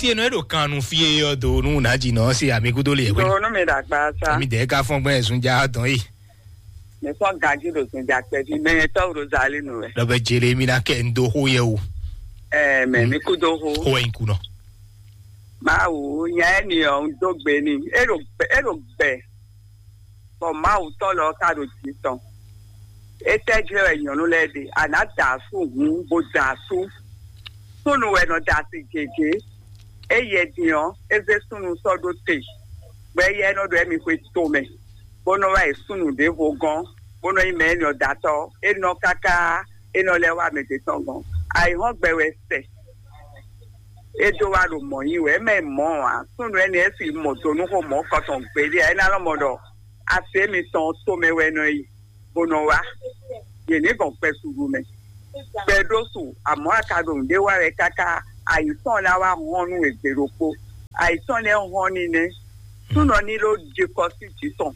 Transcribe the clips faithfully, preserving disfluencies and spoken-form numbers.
Te nɔ e ɖo kan nu fí e ɔ́ do nú nǎ jí nɔ se ami kúdó le ɛwé. Ɖo nú mi ɖagba sa. Ami dɛ ka fɔn gbɛn zun ja dɔn yi. Mi fɔn ganji ɖo zun ja kpɛvi mɛ tɔ́ Rozali nu wɛ. Lɔbɛ jele mi na kɛ n do xó yɛ o. Ɛɛ mɛ mi kúdó xó. Xó yɛ n kunɔ. Mawu nya ɛ ni ɔ n dó gbe ni. E ɖo gbɛ e ɖo gbɛ. Bɔ Mawu tɔn lɔ ka ɖo jǐ tɔn. Étɛ́ jlɛ́ wɛ nyɔ̌nu lɛ́ɛ ɖe? A nǎ da asú hǔn bó da asú. Súnnu wɛ nɔ da asi gěgé. Éyɛ́ din ɔ́, é zé súnnu sɔ́ ɖó te, bɔ éyɛ́ nɔ ɖo ɛ́ mi xwe tomɛ, bó nɔ wá yi súnnu ɖěvo gɔ́n, bó nɔ nyí mɛ énɛ́ ɔ́ datɔ́. É nɔ káká, é nɔ lɛ́ wá mɛ ɖě tɔn gɔ́n. Ayǐhɔ́ngbe wɛ sɛ. É dó wá ɖo mɔ̌ nyi wɛ, é mɛ mɔ̌ ǎ. Súnnu énɛ́ é fi mɔ do nú xó mɔ̌ kɔtɔn gbeɖé ǎ. É ná lɔ́ mɔ ɖɔ asi émitɔn tomɛ wɛ nɔ yi, bó nɔ wá. Yě ní gɔn gbɛ suɖu mɛ. Gbɛ ɖó su, amɔ̌ a ka ɖo nǔɖé wa wɛ káká ayǐ tɔn ná wá hɔn nú we gbe ɖokpó. Ayǐ tɔn lɛ́ɛ hɔn ní nɛ́. Súnɔ ní ló je kɔ sí jǐ tɔn,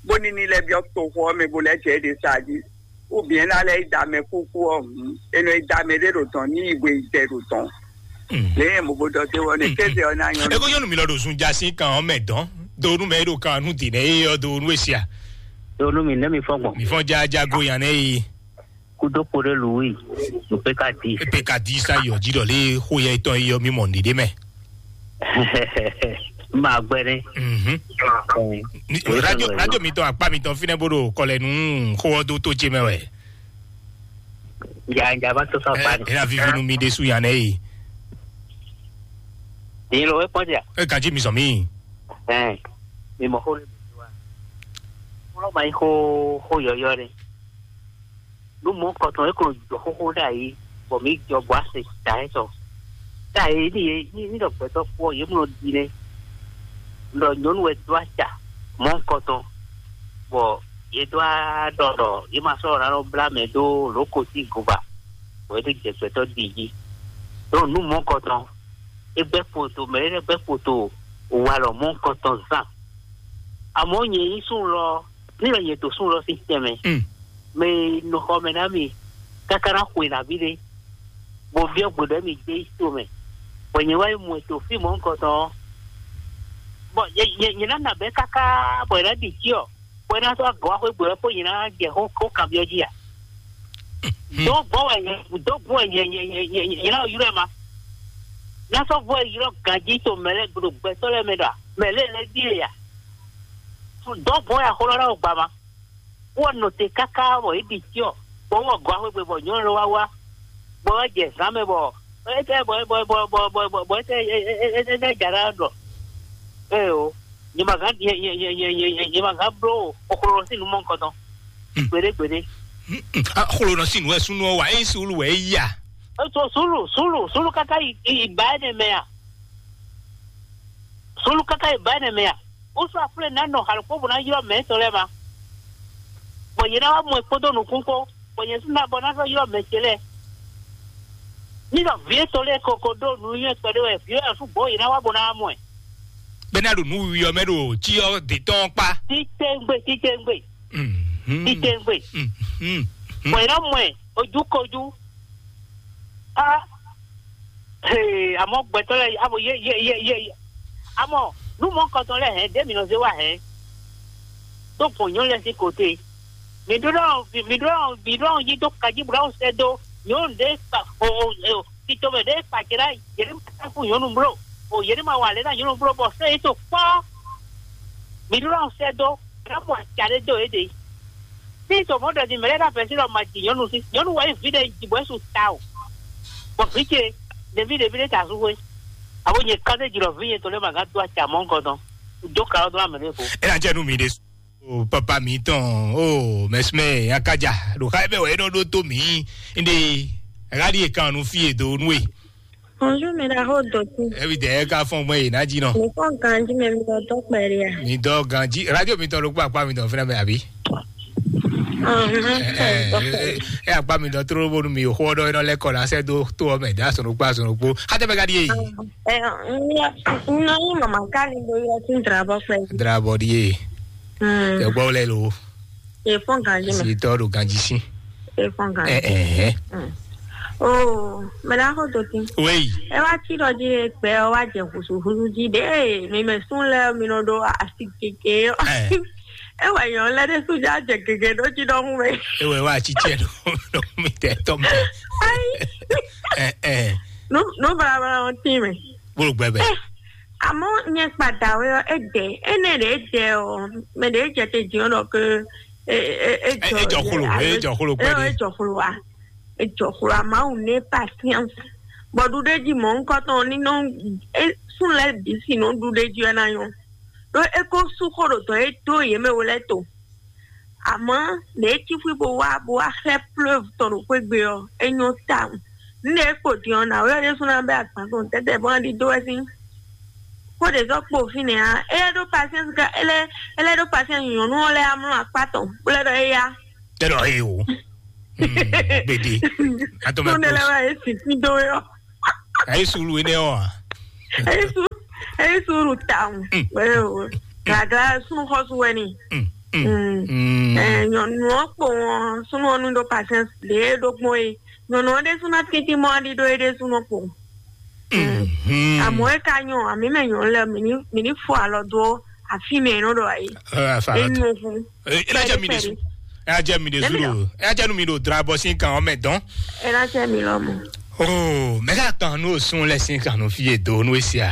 bó ní ní lɛ́ byɔ́ toxo ɔ́ mɛ bó lɛ́ jɛ é ɖe sa jí. Ou bien ná lɛ́ yi da mɛ kúkú ɔ́ hǔn, è nɔ yi da mɛ ɖé ɖo dɔ̌n ní yi hwe yi dɛ ɖo dɔ̌n. Lě e mo bo ɖɔ dé wɔ ne kéze ɔ́ ná nyɔ́. Eko nyɔnu mi lɔ ɖo zun ja sín kan ɔ́ mɛ dɔn do nú mɛ e ɖo kan nú dǐ nɛ e ɔ́ do nú esia. Ɖo nú mi nɛ́ mi fɔ́n gbɔn. Mi fɔn ja ja go yan nɛ yi. Kúdó kpo ɖé lu wí, nǔ pé ka di. Ebe ka di sa yɔ jí ɖɔ lé xó yɛ tɔn yi yɔ mi mɔ nìɖe mɛ. Ma gbɛ ne. Mhm. Ni- Oye radio sɔnni radio mi tɔn akpa mi tɔn finɛ bó ɖo kɔlɛ nú xó ɔ́ dó tó jé mɛ wɛ. Ya ya va tó sɔn akpa ni. Ɛ ɛ vivi nu mi ɖe su yan nɛ yi. Ni lo e kpɔn dia. E kan jí mi sɔn mi. Ɛn, mi mɔ xó le mi wa. Xó lɔ ma yi xó xó yɔyɔ ne. Nú mɔ̌ kɔtɔn é ko jɔ xóxó ɖ'ayǐ, bɔ mǐ jɔ bɔ ase da ɛ tɔ. Ɖ'ayǐ ní yě ní ní ɖɔ gbɛtɔ́ kpó ɔ́, yě mlɔ ɖi nɛ́. Ɖɔ nyɔ̌nu wɛ dó aca mɔ̌ kɔtɔn, bɔ yě dó aɖɔ ɖɔ yě ma sɔ́ ná nɔ blá mɛ dó lǒ ko sín goba, bɔ é dó jɛ gbɛtɔ́ ɖi jí. Ɖɔ nǔ mɔ̌ kɔtɔn, é gbɛ́ kpoto, mɛ é gbɛ́ kpoto walɔ mɔ̌ kɔtɔn zán. Àmọ́ nyɛ nyí súnnu lɔ, ní lɔ nyɛ to súnnu lɔ sín tɛnmɛ, Mm. mɛ e nɔ xɔ mɛ ná mi káká ná xwe nǎví ɖé, bɔ byɔ́ gbe ɖɔ mi gbé yi to mɛ, bɔ nyɛ wá yi mɔ ɛ to fí mɔ̌ nukɔntɔn ɔ́, bɔ nyɛ nyɛ nyɛ ná nabɛ́ káká bɔ è nǎ ɖi cyɔ, bɔ é ná sɔ́ agɔ̌ wá xwé gbe wɛ kpó nyɛ ná jɛ xó xó kanbyɔ́ jí a? Dó gbɔn wɛ nyɛ dó gbɔn wɛ nyɛ nyɛ nyɛ nyɛ nyɛ ná ylɔ́ ɛ ma. Ná sɔ́ gbɔn wɛ ylɔ́ ganjí to mɛ lɛ́ɛ gbló gbɛtɔ́ lɛ́ɛ mɛ ɖɔ a? Mɛ lɛ́ɛ lɛ́ɛ ɖíe a? Dɔ̌ gbɔn ya xó lɔ ná wɔ gba ma. Wɔ nɔ te káká bɔ é ɖi cyɔ, bɔ wɔ gɔ́ axwé gbe bɔ nyɔ̌nu lɔ wá wá, bɔ wá jɛ zǎn mɛ bɔ é tɛ bɔ bɔ bɔ bɔ bɔ bɔ bɔ é tɛ é é é é ja ná ɖɔ. Ee o, nyɛ ma gán nyɛ nyɛ nyɛ nyɛ nyɛ nyɛ nyɛ ma gán bló oxlolo sín nú mɔ nukɔn tɔn. Gbeɖé gbeɖé. Xlonɔ sín nǔ wɛ súnú ɔ́ wa, é nyí suúlu wɛ é yí a? Ètò sùúrù sùúrù sùúrù káká yi yi ba ɛ nɛ mɛ a? Sùúrù káká yi ba ɛ nɛ mɛ a? Wosɔ afúlẹ̀ ná nɔ xalukpó bó ná ylɔ́ mɛ tɔn lɛ́ɛ ma. Bɔ yě ná wá mɔ ɛ kpódó nukún kpó, bɔ nyɛ sún ná bɔ ná sɔ́ ylɔ́ mɛ ce lɛ́ɛ. Ní ɖɔ vǐ étɔn lɛ́ɛ ko ko ɖó nǔ nywɛ́ kpɛɖé wɛ, vǐ ɔ́ sú gbɔ̌ yě ná wá bó ná wá mɔ ɛ. Bɛ́ ná ɖo nǔ wiwi ɔ́ mɛ ɖo cyɔ dě tɔn kpá. Títɛ́ngbé títɛ́ngbé Mhm. Títɛ́ngbé. Mhm. Bɔ yě ná mɔ ɛ ojú kojú. Ah, Hee, àmọ́ gbɛtɔ́ lɛ́ɛ abo yé yé yé yé yé. Àmọ́ nú mɔ̌ kɔtɔn lɛ́ɛ hɛn ɖé mǐ nɔ zé wá hɛn. Tó gbɔn nyɔ̌nu lɛ́ɛ sín kote. Mǐ ɖó ɖɔ mǐ ɖó ɖɔ mǐ ɖó ɖɔ yí dó kají bó ɖɔ sɛ dó nyɔ̌nu ɖé kpa o o o tito mɛ ɖé kpa ce ɖá yě ɖé ma fún nyɔ̌nu bló o yě ɖé ma wa lě ná nyɔ̌nu bló bɔ sɛ yě to kpɔ́. Mǐ ɖó ɖɔ sɛ dó ká mɔ aca ɖé dó yě ɖe. Ní to mɔ̌ ɖɔ din mɛ lɛ́ɛ ɖo afɛsí ɖɔ ma ji nyɔ̌nu sí nyɔ̌nu wɛ nyí vǐ ɖe ji bɔ é su ta o. Bɔ vǐ ce ɖeví ɖeví ɖé ta sú xwé. Abo nyɛ ká ɖé ji ɖɔ vǐ nyɛ tɔn lɛ́ɛ ma gán dó acɛ amɔ̌ gɔ́ dɔn. Dó ka ɔ́ dó amɛ ɖěvo. É ná jɛ nú mi ɖé. O papa mi tɔn o mɛsumɛ akaja ɖo xa ebe wɛ é nɔ ɖó tó mi. Inde ɣali e kan nu fi e do nu e. Bonjour, mɛ ɖaxó dɔtí. Ebi dɛ ká fɔn gbɛ yìí ná jí nɔ. Mi fɔn ganji mɛ mi dɔ dɔ kpɛɖe a? Mi dɔ ganji radio mi tɔ ló kpó akpá mi tɔ fúnra mi àbí? Ahun. Ɛ ɛ ɛ akpá mi tɔ tró bónú mi xó ɔdɔ iná lɛkọ la sɛ dó tó ɔmɛ dá sɔnù kpá sɔnù kpó. Xatɛ bɛ ka di yé. Ɛ ŋlɔ ŋlɔ yín mama ká ni do yɔ tún drabɔ kpɛ. Drabɔ di yé. Ɛ gbɔ lɛ lo. E fɔn ganji mɛ. Si tɔ do ganji si. E fɔn ganji. Ɛ ɛ. Oh, mɛ ɖaxó Dokin. Oui. Ɛ wá tí ɖɔ jí gbɛ ɔ wá jɛ húsúhúsú jí ɖé mi mɛ sún lɛ mi nɔ ɖo asi kéke ɔ. Ɛ. Ɛ wɛ nyɔ lɛ ɖé sú já jɛ gege ɖó jí ɖɔhún mɛ. Ewɛ wá tsitsɛ ɖo ɖo mi tɛ tɔ mɛ. Ayi. Ɛ ɛ. Nu nu balabala ɔ tí mɛ. Bolo gbɛbɛ. Ɛ, àmọ́ nyɛ kpadà wɛ ɔ é dɛ énɛ́ ɖé é dɛ ɔ mɛ ɖé é jɛ te jí ɔ ɖɔ ke é é é Ɛ jɔ ɛ jɔ xlo alo ɛ jɔ xlo ɛ gbɛdɛ. É jɔ xlo wa. Ejɔ xwla Mawu ní patience. Bɔ ɖuɖéji mɔ̌hunkɔtɔn ní nɔ é sún lɛ́ɛ bǐ si nɔ ɖuɖéji wɛ ná nyɔ́. Ɖó é ko sú xó ɖo dɔ̌ e dó yě mɛ wo lɛ́ɛ to. Amɔ̌, lě e cí xwí bó wá bó wá xlɛ́ plɔ́vu tɔn ɖo xwé gbe ɔ́, é nyɔ́ tawun. Nǔ e kpo din ɔ́, nǎwe ɔ́ ɖésú ná bɛ́ agban tɔn tɛ́tɛ́ bó ná ɖidó wɛ sín. Xó ɖě zɔ́ kpo fínɛ́ ǎ, é lɛ́ ɖó pasiɛ́nsi ká é lɛ́ é lɛ́ ɖó pasiɛ́nsi nyɔ̌nu ɔ́ lɛ́ɛ amlɔ akpá tɔn, bó lɛ́ ɖɔ éyá. Tɛ ɖɔ he o. Hmm, gbede. Atɔ mɛ Tó ne lɛ kpɔs. Wá yé sì kí dó yɔ. Ayi sulu ene o. A. Eyi su eyi su ɖu tawun. Mm. Wɛ o. Gaga sunu xɔsu wɛ ni. Mm, mm, Mm. Mm. Ɛ nyɔnu ɔ kpo wọn sunu ɔnu ɖo patience ɖe ɖo gbɔn ye. Nyɔnu ɔ ɖe sunu atintin mɔ aɖi ɖo ye ɖe sunu kpo. Mm. Amɔ e ka nyɔ ami mɛ nyɔnu lɛ mi ni mi ni fɔ alɔ do afi mɛ nɔ ɖo ayi. Ɛ afa alɔ. Enu fun. Ɛ ɛ lajɛ mi de su. Ɛ ajɛ mi de su do. Ɛ ajɛ nu mi do dra bɔ sin kan ɔmɛ dɔn. Ɛ lajɛ mi lɔ mɔ. Oh, mɛ ka kan nu sun lɛ sin kan nu fi ye do nu esia.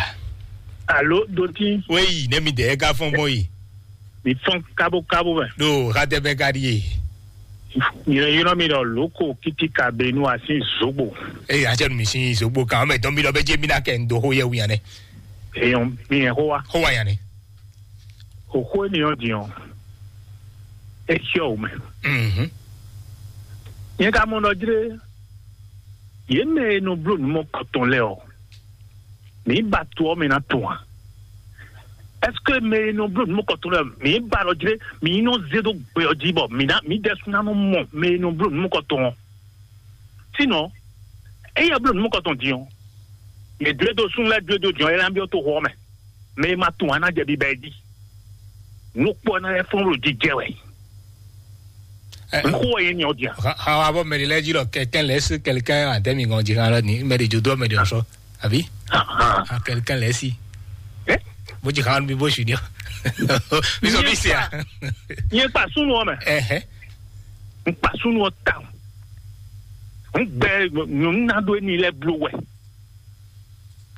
Alo doti. Weyi ne mi de ɛ ka fɔn gbɔn yi. Mi fɔn kabo kabo mɛ. Do ha dɛ bɛ ka di ye. Yìnyɔn mi ɖɔ loko kiti ka be nu asi zogbo. Eye ajɛ nu mi sin zogbo kan ɔmɛ dɔn mi lɔ bɛ je mi na kɛ ndo ho yɛ wuyan nɛ. Eyɔn mi yɛn ho wa. Ho wa yan nɛ. Xóxó énɛ́ ɔ́ din ɔ́, é xyɔ́ wǔ mɛ. Mhm. Nyɛ ka mɔ ɖɔ jlé, yě mɛ e nɔ bló nǔ mɔkɔtɔn lɛ́ɛ ɔ́, mǐ ba to ɔ́ mɛ ná tɔn a? Ɛseke mɛ e nɔ bló nǔ mɔkɔtɔn lɛ́ɛ ɔ́, mǐ ba ɖɔ jlé, mǐ nɔ zé ɖó gbe ɔ́ jí bɔ mǐ ná mǐ ɖɛ́sú ná nɔ mɔ mɛ e nɔ bló nǔ mɔkɔtɔn ɔ́? Sinɔ, ényí ɔ́ bló nǔ mɔkɔtɔn din ɔ́, yě dó e dó súnnu lɛ́ɛ dó e dó din ɔ́, é ná byɔ́ toxo ɔ́ mɛ. Mɛ e ma tunwun ɔ́ ná jɛ biba ɛ jí. Nukpɔ́ ná lɛ́ fɔ́n ɖo jijɛ wɛ. Ɛ, Nukpɔ́ wɛ yé nyɛ ɔ́ din a? Xa xa wa bɔ mɛ ɖé lɛ́ɛ jí ɖɔ quelqu'un laisse quelqu'un à terme gɔn jí xan lɔ ni mɛ ɖé jó dó mɛ ɖé ɔ́ sɔ àbí? Ahan. Ah, quelqu'un laisse. Ɛ? Bó jí xan mi bó su ni ɔ. Mi sɔ mi se a? Nyɛ kpa súnnu ɔ́ mɛ. Ɛhɛ. N kpa súnnu ɔ́ tawun. N gbɛ nyɔ̌nu ná ɖó éní lɛ́ɛ bló wɛ.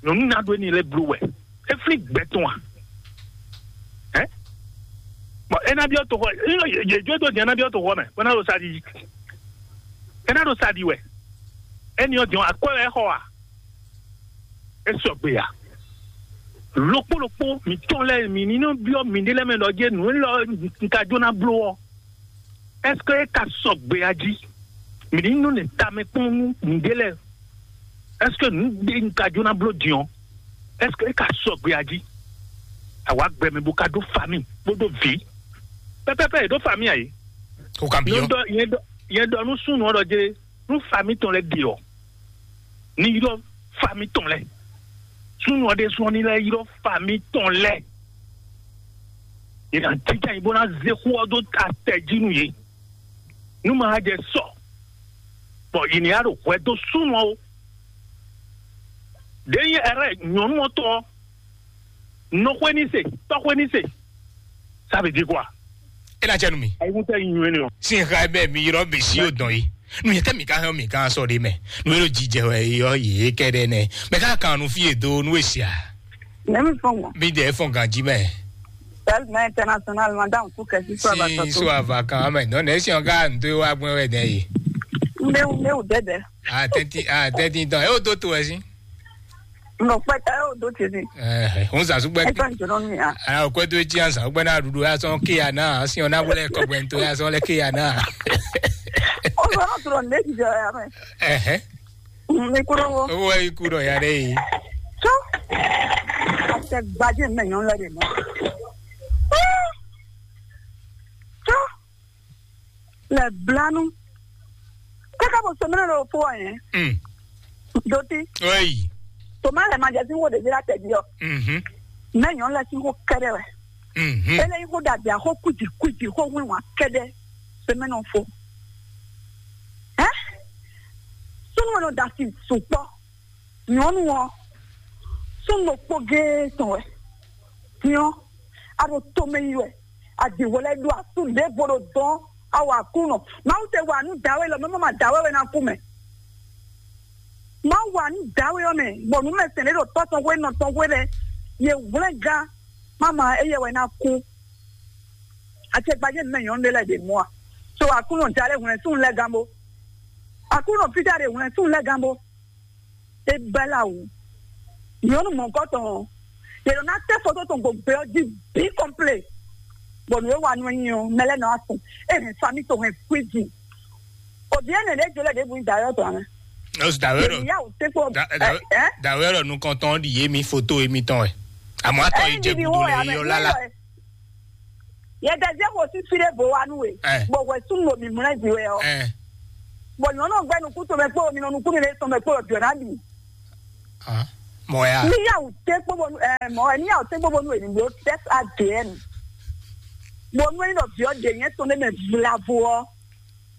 Nyɔ̌nu ná ɖó éní lɛ́ɛ bló wɛ. É flín gbɛ tɔn a? Ɛ? Bɔn é ná byɔ́ toxɔ, yě jó dó din é ná byɔ́ toxɔ mɛ, bó ná ɖo sa ɖi. É ná ɖo sa ɖi wɛ. Éní ɔ́ din ɔ́, akwɛ́ wɛ é xɔ a? É sɔgbe a? Lokpó lokpó mǐtɔn lɛ́ɛ mǐ ní nɔ byɔ́ mǐɖée lɛ́ɛ mɛ ɖɔ jɛ́n nǔ élɔ́ un ka jó ná bló ɔ́, ɛ́seke é ka sɔgbe a jí? Mǐ ní nɔ nɛ tamɛ kpɔ́n nú mǐɖée lɛ́ɛ. Ɛ́seke nǔ ɖé un ka jó ná bló din ɔ́, ɛ́seke é ka sɔgbe a jí? Àwa gbɛ mɛ bó ka ɖó fami bó ɖó vǐ. Pɛpɛpɛ yě ɖó fami a yě? Kó ka Nyɛ byɔ́. Ɖɔ nyɛ ɖɔ nyɛ ɖɔ nú súnnu ɔ́ ɖɔ jlé nú fami tɔn lɛ́ɛ ɖe ɔ́, ní ylɔ́ fami tɔn lɛ́ɛ. Súnnu ɔ́ ɖésú ɔ́ ní lɛ́ ylɔ́ fami tɔn lɛ́ɛ. Yě ná jínjɔ́n ayǐ bó ná zé xó ɔ́ dó atɛ jí nú yě. Nú ma jɛ sɔ, bɔ yě ní ɖo hwɛ dó súnnu ɔ́ ó. Ɖě nyí ɛrɛ nyɔ̌nu ɔ́ tɔn ɔ́, nɔxwé ní se, tɔxwé ní se. Ça veut dire quoi? É ná jɛ nu mi. Ayíkúntɛ nyi nywɛ́ nɛ ɔ. Sin xa bɛ mi yrɔ mi si o dɔn yi. Nu yɛ tɛ mi ka hɛn mi ka sɔ de mɛ. Nu yɛ lo jijɛ wɛ yɔ yɛ kɛ dɛ nɛ. Mɛ ka kan nu fi ye do nu esia. Nɛ mi fɔn mɔ. Mi dɛ fɔn ganji mɛ. Sɛl mɛ international madame ku kɛ si so ava Sin tɔ so to. Ava kan mɛ. Nɔ nɛ si ɔn ka n to wa gbɛ wɛ dɛ yi. N bɛ n bɛ o dɛdɛ. A tɛnti a tɛnti dɔn. E o do to wɛ si. Nɔ kpɛtɛ o do tiri. Ɛɛ, n sa sugbɛ. Ɛsɛ n jɔrɔ mi ya. Aa, o kɔɛ to etsi ansa, o gbɛ na ɖuɖu ya sɔn ke ya na, asi ɔna wele kɔgbɛ to ya sɔn lɛ ke ya na. O sɔrɔ sɔrɔ ne ti jɔ ya mɛ. Ɛhɛ. Mi kúrò wo. Owó ẹ kú dọ̀ ya dɛ yi. Tó. Àtẹ gbajẹ mẹ nyɔnu lẹ de mọ. Tó. Le blanu. Kaka bɔ sɔmɛnɛ lɔ fo wa yɛn. Mm. Doti. Oyi. Toma lɛ ma jɛ si wo ɖevi la tɛ di ɔ. Mhm. Mɛ nyɔ lɛ si ko kɛɖɛ wɛ. Mhm. Ele yi ko dabi a ko kuji kuji ko win wa kɛɖɛ. Sɔmɛnɛ fo. Ɛ? So Nyɔnu ɔ́ nɔ da asi sukpɔ́. Nyɔnu ɔ́, súnnu ɖokpó géé tɔn wɛ. Nyɔ, a ɖo tomɛ yi wɛ. A ɖi hwɛ lɛ́ɛ ɖó asú ɖěvo ɖo dɔn. A wa Aklúnɔ. Mawu te wa nǔ dǎwe lɔ, mɛ ma dǎwe wɛ ná kú mɛ. Mawu wa nǔ dǎwe ɔ́ mɛ, bɔ nǔ mɛ sɛn ɖé ɖo tɔ́ tɔn hwe nɔ tɔn hwe lɛ́ɛ. Ye hwlɛ́ngán, mama éyɛ́ wɛ ná kú. Acɛkpajɛ nǔ mɛ nyɔ̌nu ɖé lɛ́ɛ ɖe mɔ a? So Aklúnɔ ja lɛ́ hwlɛ́n súnnu lɛ́ɛ gán bó. Aklúnɔ Pita ɖe hwlɛ́n súnnu lɛ́ɛ gán bó. É bɛ́ lɛ awu. Nyɔ̌nu mɔ̌hunkɔtɔn ɔ́, yě ɖo ná tɛ́ foto tɔn gbo gbɛ ɔ́ jí bǐ kɔnplé. Bɔ nǔ e wa nú ɛ nyi ɔ́, mɛ lɛ́ɛ nɔ wá tunwun. É hɛn fami tɔn hɛn kwíji. Òbí ɛnɛ ɖě jolɛ ɖěbǔ nyí dǎwe ɔ́ tɔn ǎ. Ó sì dǎwe ɖɔ Yě ní yá wǔ tɛ́ kpó. Dǎ- dǎwe- ɛ ɛ. Dǎwe ɖɔ nukɔntɔn ɖi yé mi foto émítɔn wɛ. Àmọ́ atɔ yi Ɛyin jɛ ɖiɖi gudo wo lɛ yɛ yɔ amɛ lálá. Yɛ dɛ zɛ xo sísí ɖé bo wa nú we. Ɛ. Bɔ hwɛ súnnu ɖo mǐmlɛ́ jí wɛ ɔ́. Ɛ. Bɔ nyɔ̌nu gbɛ nukún tomɛ kpó mi nɔ nukún mi lé tomɛ kpó jɔ ná bì. Hã? Mɔ ya. Ní yà wù té kpó bɔnu ɛ mɔ ɛ ní yà wù té kpó bɔnu ènìyàn ó test A D N. Bɔnu ẹni lɔ viɔ de yẹn tɔn ɖé mɛ vlavo ɔ.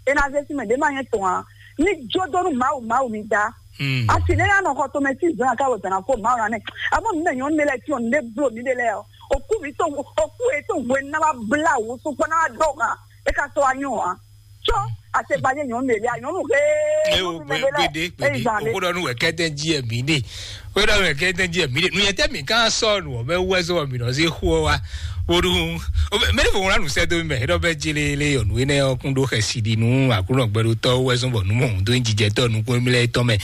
Ena zɛ si mɛ ɖé ma yẹn tɔn a. Ní jó dó nú Mawu Mawu mi da. Hmm. Asi ɖé yà nɔ xɔ tomɛ tí zɔn aká wò dana fó Mawu na nɛ. Amɔ mi mɛ nyɔnu ɖé lɛ tí ɔ ní ɖé blo mi ɖé lɛ ɔ. Òkú mi tó òkú yẹ tó wɛ ná wá bla wò sukpɔ ná wá dó hàn. E ka sɔ anyɔ a. Tsɔ asegbanyɛ nyɔnu ɖe lia nyɔnu he. Eo gbede gbede. Òkúdɔ nu wɛ kɛtɛ jí ɛ mi de. Òkúdɔ nu wɛ kɛtɛ jí ɛ mi de. Nuyɛ tɛ mi kan sɔ nu ɔbɛ wɛ sɔ mi nɔ se xo wa. Woɖu mɛni fo ŋlɔ nu sɛ do mi mɛ eɖɔ bɛ jele le yɔnu enɛ ɔkun ɖo xɛsi ɖi nu akunɔ gbɛɖotɔ wɛ sɔn bɔ numɔ do jijɛtɔ nukun mi lɛ tɔ mɛ.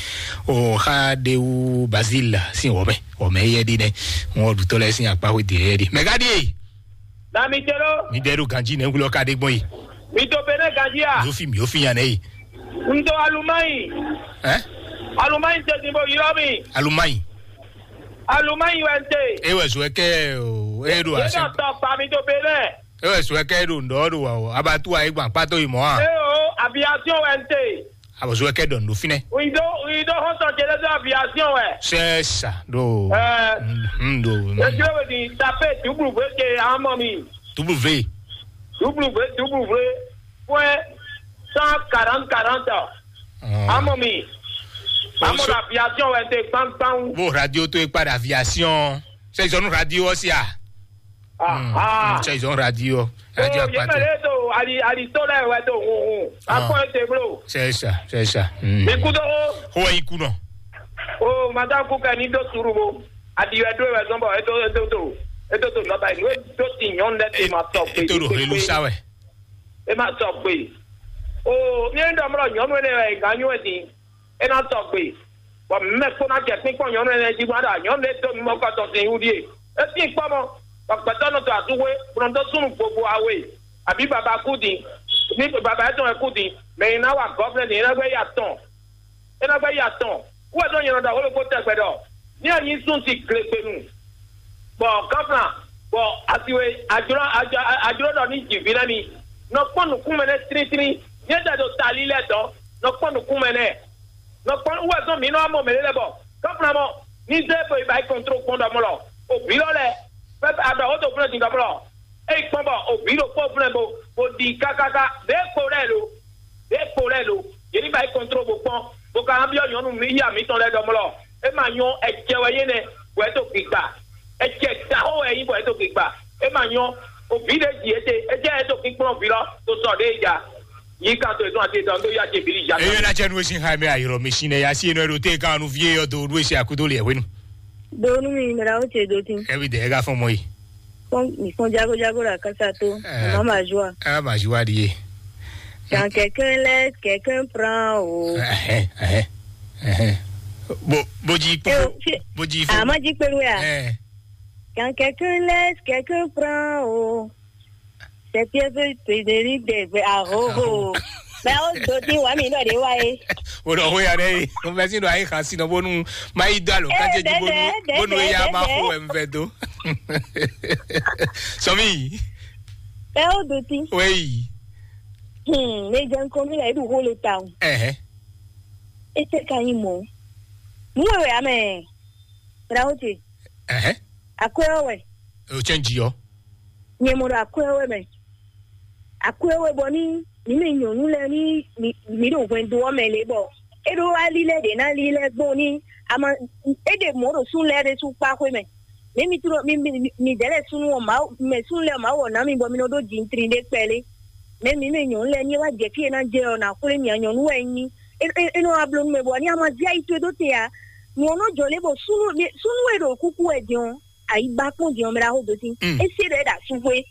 O xa de wu Bazil sin wɔmɛ wɔmɛ yɛ ɖi nɛ. Ŋɔ ɖutɔ lɛ sin akpa xo de yɛ ɖi mɛ ka ɖi. Na mi te ɖo. Mi ɖe ɖo ganji nɛ wulɔ ka ɖe gbɔn yi. Mi to Benin ganji a? Mi ofi mi ofi yan nɛ yi. N to Alumayi. Ɛ? Alumayi te din bo ylɔ mi. Alumayi. Alumayi wɛ n te. E wɛ zɔ kɛ o e ɖo Yé asi. Dɔ tɔ pa mi to Benin. E wɛ zɔ kɛ ɖo ŋdɔ ɖo wa o abatu ayi gban kpatɔ yi mɔ a. E o aviation wɛ n te. Abɔzɔ kɛ dɔn do finɛ. We don't we don't hunt on Jerusalem aviation wɛ. C'est ça do. Euh. Mm, do. Ejiro we di tape W ke amɔ mi. W. W W point cent quarante quarante. Amɔ mi. Amɔ la aviation wɛ te gbangban. Bo radio to ekpa da aviation. C'est zone radio aussi ah. Ah, mm, ah. C'est zone radio. Radio. Oh, aparte. Yemele to ali ali to lɛ wɛ to hun hun. Ah. Akɔ ete blo. C'est ça, c'est ça. Mm. Ikudo. Ho ikuno. Oh, madame kuka ni do suru bo. Adi wɛ do wɛ zɔn bɔ eto eto to eto to nɔba yi do ti nyɔnu lɛ te ma tɔ gbe. Eto do helu sa wɛ. E ma tɔ gbe. Oh, mi en dɔmlɔ nyɔnu ne wɛ ganyu wɛ din. E na tɔ gbe. Bɔ mɛ kpó ná jɛ kpínkpɔ́n nyɔnu ɛnɛ jí bó ná ɖo nyɔnu ɖé dó mimɔ kɔ tɔn sin wú ɖíe. É tín kpɔ́ mɔ, bɔ gbɛtɔ́ nɔ tɔ asúxwé, bó nɔ dó súnnu gbogbo awe, abǐ baba kú din, ní baba étɔn wɛ kú din, mɛ e ná wa gɔ́vlɛ́ din é ná gbɛ́ ya tɔn. É ná gbɛ́ ya tɔn. Kú wɛ tɔn nyɛ nɔ ɖɔ xó ɖokpó tɛgbɛ ɖɔ, ní a nyí sún si glegbenu, bɔ gɔ́flan, bɔ asiwe, ajló, ajló ɖɔ ní jǐ ví ná mi. Nɔ kpɔ́n nǔkún mɛ nɛ́ tlítlí, nyɛ tɛ ɖo tali lɛ́ɛ dɔn, nɔ kpɔ́n nǔkún mɛ nɛ́. Nɔ kpɔ́n wú wɛ zɔn mǐ nɔ wá mɔ mɛ ɖé lɛ́ɛ bɔ kɔ́fúnamɔ ní zé bo yi ba yi kɔntro gbɔn ɖɔmlɔ o vǐ lɔ lɛ́ɛ bɔ aɖɔ wó do flɛ́ din ɖɔmlɔ. Ényí kpɔ́n bɔ o vǐ ɖokpó flɛ́ bo bo ɖi kákáká ɖě kpo lɛ́ɛ lo ɖě kpo lɛ́ɛ lo yě ní ba yi kɔntro bó kpɔ́n bó ka ná byɔ́ nyɔ̌nu mǐ yí amǐtɔn lɛ́ɛ ɖɔmlɔ. É ma nyɔ́, ɛjɛ wɛ yé nɛ́ bɔ é dó gbigba. Ɛjɛ dǎxó wɛ é nyí bɔ é dó gbigba. É ma nyɔ́, o vǐ ɖě ji éte é jẹ́ é dó kpínkplɔ́n vǐ lɔ tó sɔ ɖě ja. Yi kan to etɔn ati etɔn ɖó ya ce bili ja. Eye na cɛ nu esi ha mi ayɔrɔ mi si nɛ ya si enɔ ɖo te kan nu vie yɔ do ɖo esi akudo le hwenu. Do nu mi mra o ce do tin. Ebi de ega fɔn mɔ yi. Fɔn mi fɔn jago jago la kasa to. Eh. Mama joie. Ah ma joie di ye. Quand quelqu'un laisse, quelqu'un prend o. Eh eh eh. Bo bo ji po. Bo ji fo. Ama ji pelu ya. Eh. Quand quelqu'un laisse, quelqu'un prend o. Sɛtiɛ fɛ tedeli dɛ fɛ ahoho. Mɛ o do ti wa mi nɔ de wa ye. O nɔ ho ya ɖe. O fɛ si nɔ ayi xa si nɔ bonu ma yi do alo kati ji bonu bonu ya ma ho ɛn fɛ do. Sɔmi. Mɛ o do ti. Wei. Hmm, ne jɛ nkɔmi la edu holo ta o. Ɛhɛ. Ete ka yi mɔ. Mu wɛ wɛ amɛ. Brawo te. Ɛhɛ. Akwɛ wɛ. O cɛn ji yɔ. Nyɛ mɔ ɖo akwɛ wɛ mɛ. Akwɛ wɛ bɔ ní mǐ mɛ nyɔ̌nu lɛ́ɛ ní mǐ ɖo hwɛndo ɔ́ mɛ lě bɔ É ɖó wá lílɛ́ ɖě ná lílɛ́ gbɔn ní ama é ɖe mɔ̌ ɖo súnnu lɛ́ɛ ɖésú kpá xwé mɛ. Mɛ mi tló mi mi mi dɛ̌ lɛ́ɛ súnnu ɔ́ Mawu mɛ súnnu lɛ́ɛ Mawu ɔ́ ná mi bɔ mi nɔ ɖó jintrin ɖé kpɛlé. Mɛ mi mɛ nyɔ̌nu lɛ́ɛ ní é wá jɛ fí e ná jɛ ɔ́ ná xwlé mì a nyɔ̌nu wɛ é nyí. É é é nɔ wá bló nú mɛ bɔ ní ama zí ayi towe dó te ǎ. Nyɔ̌nu jɔ lé bɔ súnnu súnnu e ɖo kúkú wɛ din ɔ́, ayi ba kpɔ́n din ɔ́ mɛ ɖaxó dó sí. Mm. É sé ɖɔ é ɖo asú xwé.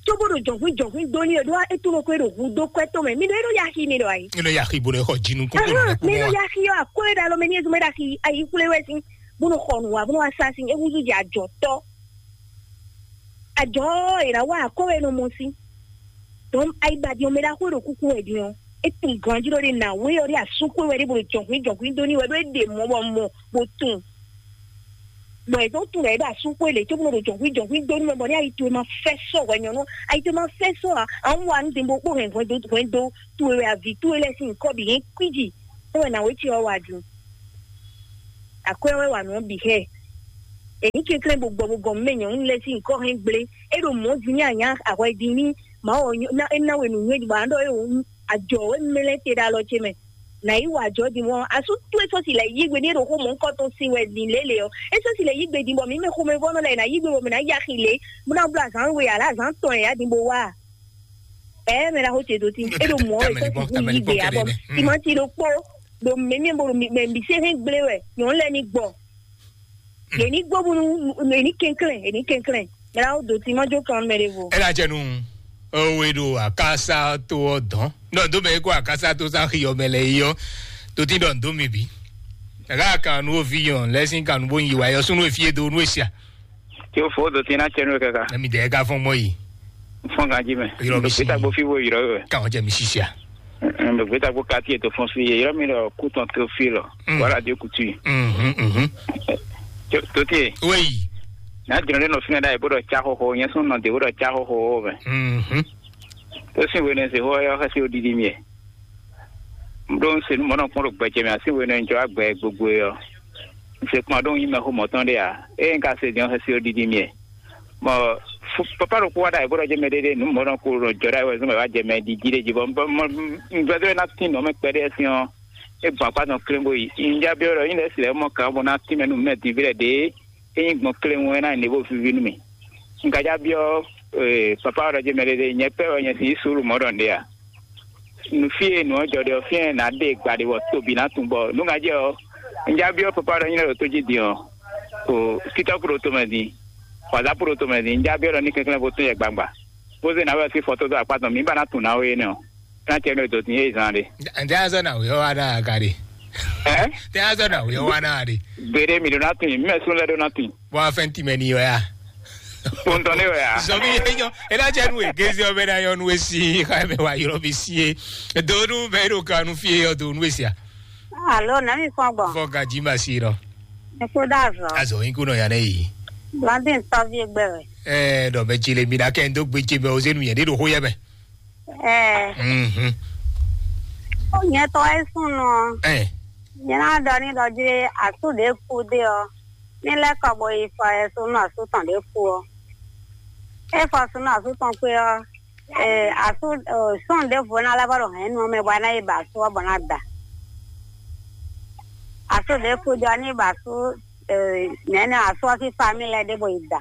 Cóbó ɖo jɔ̌nhwín jɔ̌nhwín dó ní e ɖó é tunɔ ko é ɖo hu dó kwɛ́ tɔn mɛ. Mi ɖɔ é ɖo yaxi mi ɖɔ ayi. Nínú yàrá ibo lɛ xɔ jinu kókó Ahán, lɛ kpó mi ɖɔ mɔ. Yaxi ɔ́ akó é ɖo alɔ mɛ ní ezun mɛ ɖo axi ayi xwlé wɛ sín. Bó nɔ xɔ nǔ wa bó nɔ wá sá sín é húzú jɛ ajɔ tɔ́. Ajɔ ɔ́ è nǎ wa akó wɛ nɔ mɔ sín. Dɔn ayi ba din ɔ́ mɛ ɖaxó e ɖo kúkú wɛ din ɔ́. É tunwun ganjí ɖɔ ɖe nǎwe ɔ́ ɖe asú xwé wɛ ɖé bó ɖo jɔ̌nhwín jɔ̌nhwín dó ní wɛ ɖó é ɖe mɔ̌ bɔ mɔ bó tunwun. Bɔ è dó tunwun ɖɔ é ɖo asú xwé lě cóbó nɔ ɖo jɔ̌nhwín jɔ̌nhwín dó nú mɛ bɔ ní ayi towe ma fɛ́ sɔ hwɛ nyɔ̌nu ayi towe ma fɛ́ sɔ ǎ. Awu wa nú din bó kpó hɛn hwɛndo hwɛndo towe wɛ aví towe lɛ́ɛ sín nyǐkɔ bǐ hɛn kwíji. É wɛ nǎwe ce ɔ́ wa din. Akwɛ́ wɛ wa nǔ ɔ́ bǐ xɛ. È ní kɛnklɛ́n bó gbɔ bó gɔn mɛ nyɔ̌nu lɛ́ɛ sín nyǐkɔ hɛn gblé. É ɖo mɔ̌ din ní anyá ahwɛ din ní Mawu ɔ́ é ná we nǔnywɛ́ bɔ a nǎ ɖɔ é wǒ ajɔ wɛ mlɛ́ te ɖo alɔ ce mɛ. Nǎ yi wa ajɔ din mɔ̌ asú towe sɔ́ si lɛ̌ yí gbe ní é ɖo xó mɔ̌hunkɔtɔn sin wɛ din lě lě ɔ́. É sɔ́ si lɛ̌ yí gbe din bɔ mǐ mɛ xomɛvɔ́nɔ lɛ́ɛ è nǎ yí gbe bɔ mǐ ná yi axi lě bó ná bló azǎn we ǎ lě azǎn tɔn e ǎ din bó wá a. Ɛɛ mɛ ɖaxó ce dó tí é ɖo mɔ̌ wɛ sɔ́ si yí gbe ǎ bɔ timati ɖokpó ɖo mɛ̌mɛ́ bó ɖo mɛ mǐ sɛ́n hɛn gblé wɛ nyɔ̌nu lɛ́ɛ ní gbɔ. Yě ní gbɔ bónú yě ní kɛnklɛ́n yě ní kɛnklɛ́n. Mɛ ɖaxó dó tí má jó kan mɛ ɖěvo. Ela jɛ nu owe ɖo akasa to ɔ dɔn nɔ do mɛ ko akasa to sa xi ɔmɛ lɛ yi ɔ to ti dɔ ndo mi bi. Ɛka kan nu ovi yɔ lɛ sin kan nu bo yi wa yɔ sunu efie do nu esia. Tí o fo do tí na cɛ nu kaka. Ɛmi dɛ ka fɔn mɔ yi. Fɔn kan ji mɛ. Yɔrɔ mi si. Gbeta gbo fi wo yɔrɔ yɔ. Kan jɛ mi sisia. Gbeta gbo kati eto fɔn fi yɔrɔ mi lɔ kutɔn to fi lɔ. Wala de kutu. Mhm mhm. Tote. Wei. N'a jɔn ɖe nɔ fínɛ ɖa yě bó ɖɔ cá xóxó nyɛ sún nɔ dě bó ɖɔ cá xóxó mɛ. Mhm. Tó sín hwenɛ́ se xó ɔ́ xɛ́sí ó ɖiɖi mì. Ɖó un se nú mɔ̌ nɔ kpɔ́n ɖo gbɛjɛ mɛ así hwenɛ́ un jɔ agbɛ gbogbo é ɔ́. Un se kpɔ́n ɖó un nyí mɛxó mɔ̌tɔn ɖé ǎ. Ée un ka se din ɔ́ xɛ́sí ó ɖiɖi mì. Bɔ papa ɖokpó wá ɖa yě bó ɖɔ jɛ mɛ ɖéɖé nǔ mɔ̌ nɔ kó ɖo jɔ ɖa yě wɛ zɔ́n mɛ wá jɛ mɛ ɖiɖi ɖé jí bɔ un gbɛdó ná tín nǔ ɔ́ mɛ kpɛɖé ɔ́ sín ɔ́. É gbɔn akpá tɔn kléŋ bó yi. Un já byɔ́ ɖɔ nyí lɛ́ si lɛ́ mɔ kǎn bó ná tín mɛ nú mɛ din ví lɛ́ɛ ɖě. Ényí gbɔn kléwún é ná nyí nǔ e bó víví nú mì. Un ka já byɔ́ papa ɔ́ ɖɔ jɛ́n mɛ ɖé ɖé nyɛ pɛ́ wɛ nyɛ si yí suúlu mɔ̌ ɖɔ nǔɖé a? Nǔ fí e nǔ ɔ́ jɔ ɖe ɔ́, fínɛ́ nǎ ɖe gba ɖe bɔ tobi ná tungbɔ nǔ ŋa jɛ ɔ́, un já byɔ́ papa ɔ́ ɖɔ nyí lɛ́ ɖo tó jí din ɔ́, o TikTok ɖo tomɛ din, WhatsApp ɖo tomɛ din, un já byɔ́ ɖɔ ní kɛnklɛ́n bó tún yɛ gbangba, bó zé nǎwe ɔ́ sín fɔ́tó dó akpá tɔn mǐ ba ná tunwun nǎwe énɛ́ ɔ́, é ná cɛ nú e dǒ din é zán ɖe. Ǹjẹ́ azɔ́ nǎwe ɔ́ wá ná aga ɖe? Ɛ? Tɛ azɔ na wuyɔ wa na de. Gbeɖe mi ɖo na tin, mɛ sun lɛ ɖo na tin. Bɔ afɛn ti mɛ ni yɔ ya. Kpɔntɔn ne yɔ ya. Zɔmi yɛ nyɔ ena cɛ nu egezi ɔbɛ na yɔ nu esi xa mɛ wa yɔrɔ bi si ye. Donu bɛ ɖo kanu fie yɔ donu esia. Alo, na mi fɔn gbɔn. Fɔ gaji ma si nɔ. Eko da azɔ. Azɔ yin kunɔ ya ne yi. Blandin tɔvi egbe wɛ. Ɛɛ, dɔ mɛ dzi le mi na kɛ ndo gbe dzi mɛ o zenu yɛ de ɖo xo yɛ mɛ. Ɛɛ. Mhm. Ó nyɛ tɔ é sún nɔ. Ɛ. Nyɛ ná ɖɔ ní ɖɔ jí asú ɖě kú dé ɔ́. Ní lɛ́ kɔ bo yi fɔ ɛ sún nɔ asú tɔn ɖě kú ɔ́. É fɔ sún nɔ asú tɔn kpé ɔ́. Ee, asú sún ɖěvo ná lɛ́ vɔ ɖo hɛ̌nnu ɔ́ mɛ bɔ é ná yi ba asú ɔ́ bɔ ná da. Asú ɖě kú dé ɔ́ ní ba asú nɛ̌ nɛ asú ɔ́ sín famílɛ ɖé bo yi da.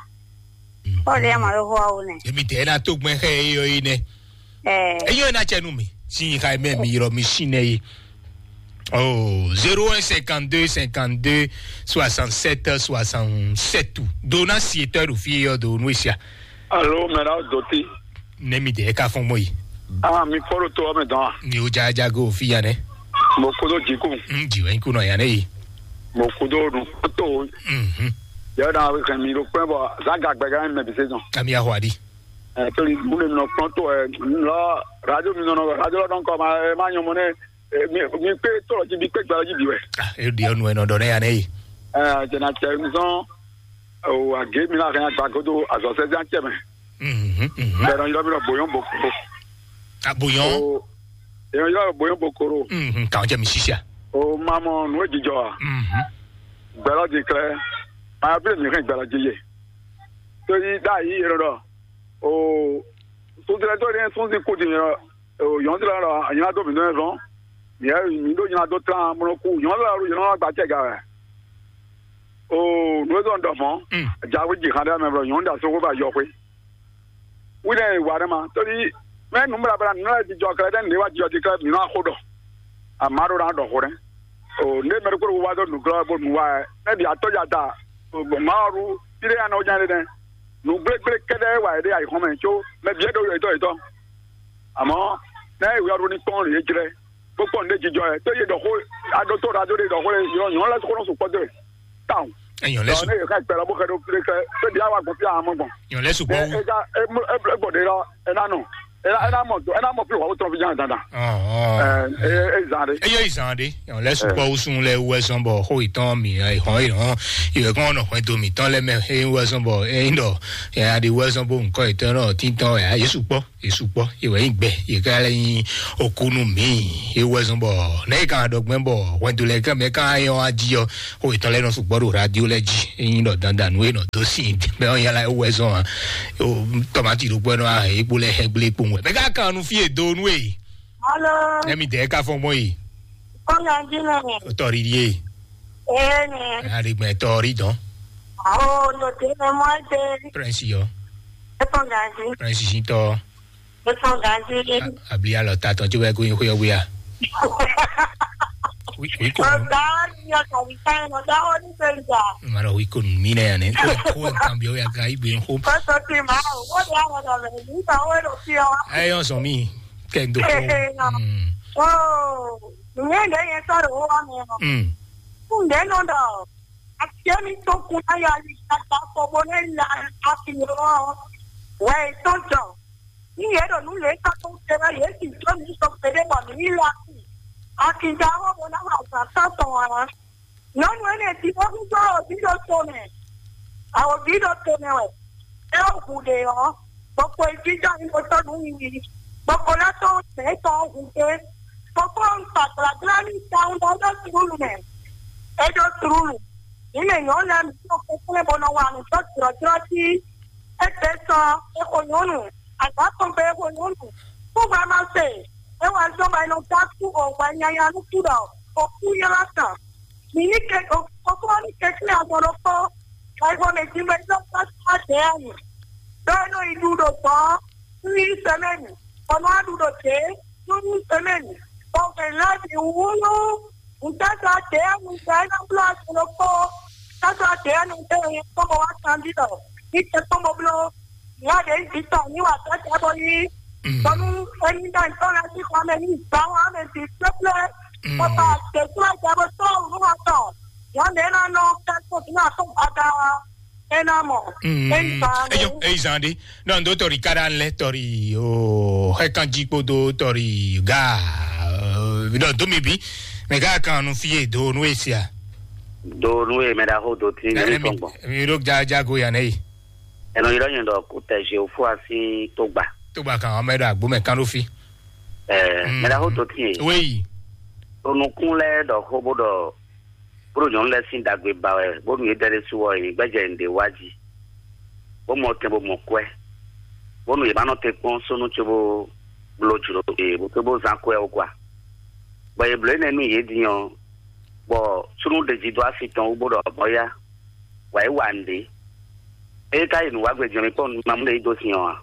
Kpɔ́ ɖe ama ɖo xó ɔ́ wú nɛ. Emi tɛ ena tó gbɛn xɛ eyɔ yi nɛ. Ɛɛ. Eyɔ ena cɛ nu mi. Si yi xa mɛ mi yɔrɔ mi si nɛ yi. Oh, zéro un cinquante-deux cinquante-deux soixante-sept soixante-sept. Dona si etɔ ɖo fi yɔ do nu esia. Alo, mɛ na doti. Ne mi de ka fɔn mɔ yi. Ah, mi fɔlɔ to ame dɔn. Ni o ja ja go fi ya nɛ. Mo kodo jiku. Mm, jiwe ku nɔ ya ne yi. Mo kodo nu to. Mhm. Ya na we kan mi ro pɛ bɔ za ga gbɛga mɛ bi se dɔn. Ami ahwadi. Eh, to ni mu ne no pronto eh, lo radio mi no no radio lo don ko ma eh, ma nyomo ne eh, mi mi pe to lo ji bi pe gba lo ji bi we. Ah, e di onu e no do ne ya ne yi. Eh, je na che mi son o age mi na kan gba godo azo se jan che me. Mhm. Mhm. Be no yo mi no boyon boko. Ah, boyon. O yo yo boyon bokoro. Mhm. Ka je mi sisia. O mamo no e jijo a. Mhm. Gbɛlɔ di klɛ. Ma bi mi kan gbɛlɔ di ye. To yi da yi ro do. O sunzɛlɛ to ni sunzi kudi yɔn o yɔn ti lɔ anyina do mi nɔ zɔn. Yɛ mi ɖo nyina dó tlán mlɔ kú nyɔ̌nu lɛ ɔ́ nyɔ̌nu agba tɛ ga wɛ. O nǔ e zɔn ɖɔ mɔ̌. Jawe ji xan ɖe mɛ blɔ nyɔ̌nu ɖe asɔxwe ba yɔxwe. Wi ɖe wa ɖe ma tóli mɛ nǔ bla bla nǔ lɛ jijɔ kɛlɛ ɖe nǔ wa jijɔ ti kɛlɛ mi nɔ axo ɖɔ. Ama ɖo ɖa ɖɔ xo ɖe. O ne mɛ ɖokpó ɖokpó wa dó nǔglɔ́ bó nǔ wa ɛ ne ɖi atɔ́ ya da. Mawu ɖu ti ɖe ya nɔ nya ɖe nɛ. Nǔ gblégblé kɛɖɛ́ wa yě ɖe ayǐ xɔ́n mɛ có mɛ bǐ é ɖo yětɔn yětɔn. Àmọ́ nɛ́ ìwé ɔ́ ɖó ní kpɔ́n lě jlɛ́, bó kpɔ́n nǔɖé jijɔ ɛ, tó yě ɖɔ xó aɖótó ɖo adó ɖé ɖɔ xó lé yɔ nyɔ̌ lɛ́ xó nɔ sukpɔ́ dó e tawun. Èèyàn lɛ́ Dɔn sùn ne yě xá ìpẹ́ lɔ bó xɛ ɖó kplé kɛ, tó bǐ á wá gbɔn fí amɔ gbɔn. Èèyàn lɛ́ sùn Bɛ kpɔ́ wú. Ega egbɔ ɖe lɔ, ena nɔ, ena mɔ ena mɔ fí wà wó tɔn fi ján dandan. Ɔ̀hún. Ɛ ɛ zan ɖe. Eye yi zan ɖe. Èèyàn lɛ́ sùn kpɔ́ wú sun lɛ wú ɛ sɔn bɔ xó ìtàn mi ɛ hɔn ɛ hɔn ìwé kɔn nɔ hwɛndo mǐtɔn lɛ mɛ ɛ wú ɛ sɔn bɔ ɛ ń ɖɔ ɛ aɖi wú ɛ sɔn bó nkɔ ìtàn náà títàn ɛ yé sùn kpɔ́. Yesu kpɔ ewɛ yi gbɛ yi ka lɛ nyi okunu mi ewɛ zɔn bɔ ne yi kan dɔ gbɛn bɔ hwɛndo lɛ kɛ mɛ kan yɔ aji yɔ o etɔn lɛ nɔ sugbɔ ɖo radio lɛ ji eyin dɔ dandan nu e nɔ do si bɛ ɔn yala ewɛ zɔn a o tɔmati ɖo gbɛ nɔ a ekpo lɛ hɛ gble kpo ŋu mɛ ka kan nu fi e do nu e Alo, ne mi dɛ ka fɔ mɔ yi kɔmi anji nɔ mɛ. O tɔ ri ye Ee nɛ. A ɖi gbɛ tɔ ri dɔn Awo, no te nɛ mɔ te. Prince yɔ Efɔn gazi. Prince si tɔ. Efɔn gazi. Abli alɔ ta tɔn tí wɛ kó yin xó yɔ wíya. Wi wi ko. Ọ̀gá ni ọkà mi ká ẹnu ọ̀gá ó ní pé ìjà. Ma lọ wi ko mi nẹ yanni. Kó kó kan bi ó ya ka igbe xó. Kó tó ti máa ò, ó di àwọn ọ̀dọ̀ rẹ̀ nígbà ó lò sí ọ. Ẹ yọ sọ mi kẹ n tó kó. Ee nọ. Mm. Ó, ìyẹn ìdẹ́ yẹn sọ̀rọ̀ ó wà mí ọ. Mm. Fún ìdẹ́ náà dọ̀, àti èmi tó kun ayọ̀ àyíká gbà pọ̀ bó ní ìlà àfihàn wẹ̀ tó jọ. Ní yě ɖo nǔ lě ká tó te wɛ yě sì jó mi sɔ kpeɖé bɔ mǐ yi la sí. Akinja ɔ́ mo ná wa azǎn tántɔn ǎ. Nyɔ̌nu énɛ́ jí bó húzú awǒvi ɖó to mɛ. Awǒvi ɖó to mɛ wɛ. É wú hu ɖě ɔ́, gbokpo yi jínjɔ́n ní bó tɔ́ nǔ wiwi. Gbokpo lɛ́ tɔ́n mɛ tɔn ɔ́ hu gbé. Gbokpo ɔ́ un kpa gblagbla n'i tawun ɖɔ é ɖó tlúlu mɛ. É ɖó tlúlu. Mǐ mɛ nyɔ̌nu lɛ́ɛ mǐ nɔ kɛnklɛ́n bó nɔ wa nǔ dó jlɔ̌jlɔ́ jí. Égbé sɔ é xo nyɔ̌nu, azǎn tɔn gbe é xo nyɔ̌nu. Kúgbɛ́ ma se, é wɛ zɔ́n bɔ è nɔ dó asú o hwɛ nyanya nú kú ɖɔ o kú ylɔ́ tɔn. Mǐ ní ke o kókó ní kɛnklɛ́n azɔn ɖokpó, bɔ é xo mɛ din bɔ é nɔ dó asú adě ɔ́ nyi. Ɖó é nɔ yi ɖu ɖo gbɔ̌ nú yí sɛmɛ́ni, bɔ nɔ wá ɖu ɖo dě nú yí sɛmɛ́ni, bɔ hwɛ̌n lɛ́ɛ bǐ wú nú Ŋutɔ́tɔ́ ɔ́ ɖě ɔ́, mi gbɔ é nɔ bló azɔn ɖokpó. Tɔ́tɔ́ ɔ́ ɖě ɔ́, nɔ dó nyɛ kpɔ́n bó wá kanbyɔ́. Ní tɛ kpɔ́n bó bló. Nya ɖě nyí vǐ tɔn ní wa tɔ́ tɛ bó yí. Bɔnú é ní ɖɔ nyǐkɔ lɛ́ɛ sín xɔ mɛ ní gbǎ wan mɛ bǐ kplɔ́kplɔ́. Bó ba tɛ̌kplɔ́ jɛ bó tɔ́ nǔ ɔ́ tɔn. Nyɔ̌nu ɖě ná nɔ kɛ́ kó bǐ ná tó gbada wá. É ná mɔ. É ní ba. Eyo, eyi zan ɖe. Non, do tori kaɖa lɛ tori o hɛ kan jí kpódó tori ga. Ɖɔ do mi bí. Mɛ ká kan nu fie do nu esia. Do nu e mɛ ɖaxó do tí ní tɔn gbɔn. Mi ɖo jajago ya nɛ yi. Ɛnɔ yi ɖɔ nyɛ ɖɔ kó tɛ je fún asi tó gbà. Tó gbà kan ɔmɛ ɖo agbo mɛ kan ɖo fi. Ɛ mɛ ɖaxó do tí yɛ. Wéyi. Onukun lɛ ɖɔ xó bó ɖɔ bó ɖo nyɔ̌nu lɛ́ɛ sín ɖagbe ba wɛ bónú yě dɛ ɖésú ɔ́, yě ní gbɛ́jɛ nǔɖé wa jí, bó mɔ tɛn bó mɔ kwɛ́, bónú yě ma nɔ te kpɔ́n súnnu cóbó bló jlǒ yě bó cóbó zán kwɛ́ ó kwa. Bɔ yě bló énɛ́ nú yě din ɔ́, bɔ súnnu ɖe jí dó asi tɔn wú bó ɖɔ mɔ̌ yá, wǎ yi wa nǔɖé. Ée ka yi nǔ wa gbe jɔ̌n mi kpɔ́n nú mamú ɖé yi dó sin ɔ́ ǎ.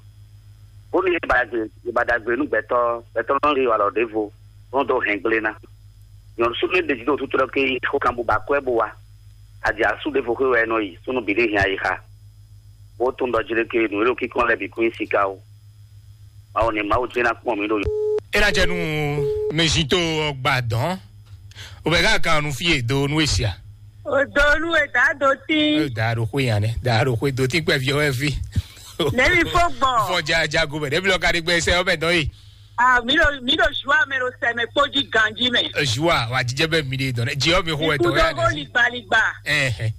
Bónú yě ba ɖagbe yě ba ɖagbe nú gbɛtɔ́, gbɛtɔ́ nɔ yi walɔ ɖěvo, bó nɔ dó hɛn gblé ná. Nyɔ̌nu súnnu e ɖe jí ɖo tútú ɖɔ ké yi xó kan bó ba kwɛ́ bó wá. Aji asú ɖěvo xwé wɛ é nɔ yi, súnnu bǐ ɖé hɛn ayixa. Bó tunwun ɖɔ jí ɖé ké nǔ e ɖo kíkɔn lɛ́ɛ bǐ kún nyí siká ó. Mawu ní Mawu jɛ́n ná kpɔn mǐ ɖo. É ná jɛ nú mɛzito ɔgbà dɔn. O bɛ ká kan nu fie do nu esia. O do nu e da do tí. Da do xwe yan nɛ, da do xwe do tí kpɛ fi ɔwɛ fi. Nɛmi fo gbɔn. Fɔ ja ja go bɛ, ɖebi lɔ ka ɖi gbɛ sɛ ɔbɛ dɔn yi. Ah, mi ɖo mi ɖo joie mɛ ɖo sɛmɛ kpó jí ganji mɛ. Joie wa jijɛ bɛ mi de dɔn. Ji ɔ mi xo wɛ dɔn ya. Ikú dɔ hó ligbaligba. Ɛhɛ.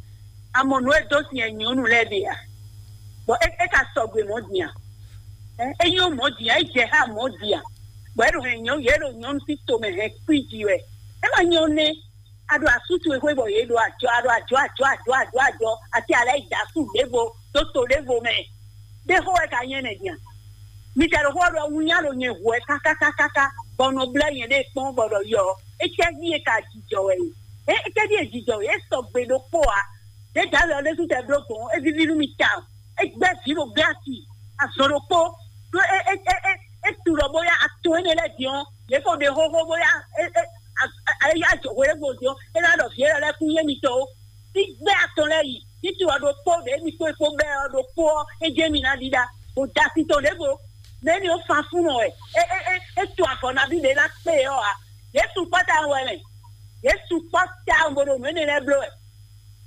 Amɔ nu e do si yɛ nyɔnu lɛ de ya. Bɔn e e ka sɔgbe mɔ diyan. Ɛ e nyɔ mɔ diyan, e jɛ ha mɔ diyan. Bɔn e ɖo hɛn nyɔ yɛ ɖo nyɔnu si to mɛ hɛn kpi ji wɛ. E ma nyɔ ne. A ɖo asú towe xwé bɔ yě ɖo ajɔ, a ɖo ajɔ, ajɔ, ajɔ, ajɔ, ajɔ, ati alɛ yi da asú ɖěvo, ɖó to ɖěvo mɛ. Ɖé xó wɛ ka nyɛ nɛ din a? Mi ka ɖo xó ɔ́ ɖɔ wunnya ɖo nyɛ hu wɛ kákákákáká, bɔ un nɔ blɛ́ nyɛɖée kpɔ́n bɔ ɖɔ yɔ, Étɛ́ví e ka jijɔ wɛ e? É étɛ́ví e jijɔ wɛ? É sɔgbe ɖokpó ǎ. Ɖědǎ wɛ ɔ́ ɖésú tɛ bló gbɔn, é víví nú mi tawun. É gbɛ́ vǐ ɖo gbé asi, azɔn ɖokpó. Ɖó é é é é é tu ɖɔ bóyá atɔn énɛ́ lɛ́ɛ din ɔ́, yě ko ɖe xóxó bóyá é é é yá hwelɛ́gbɔn din ɔ́, é ná ɖɔ vǐ élɔ́ lɛ́ɛ kún nyí émitɔn ó. Sígbɛ́ atɔn lɛ́ɛ yi, títí ɔ́ ɖokpó ɖě mi kpó kpó bɛ́ ɔ́ ɖokpó ɔ́, é jɛ mi ná ɖiɖa, bó da asi tɔn ɖěvo. Mɛ̌ ni ó fan fún nɔ wɛ? É é é é tu avɔ nabí ɖě ná kpé ɔ́ ǎ. Yěsu kpɔ́ tawun wɛ mɛ. Yěsu kpɔ́ tawun bó ɖo nǔ énɛ́ lɛ́ɛ bló wɛ.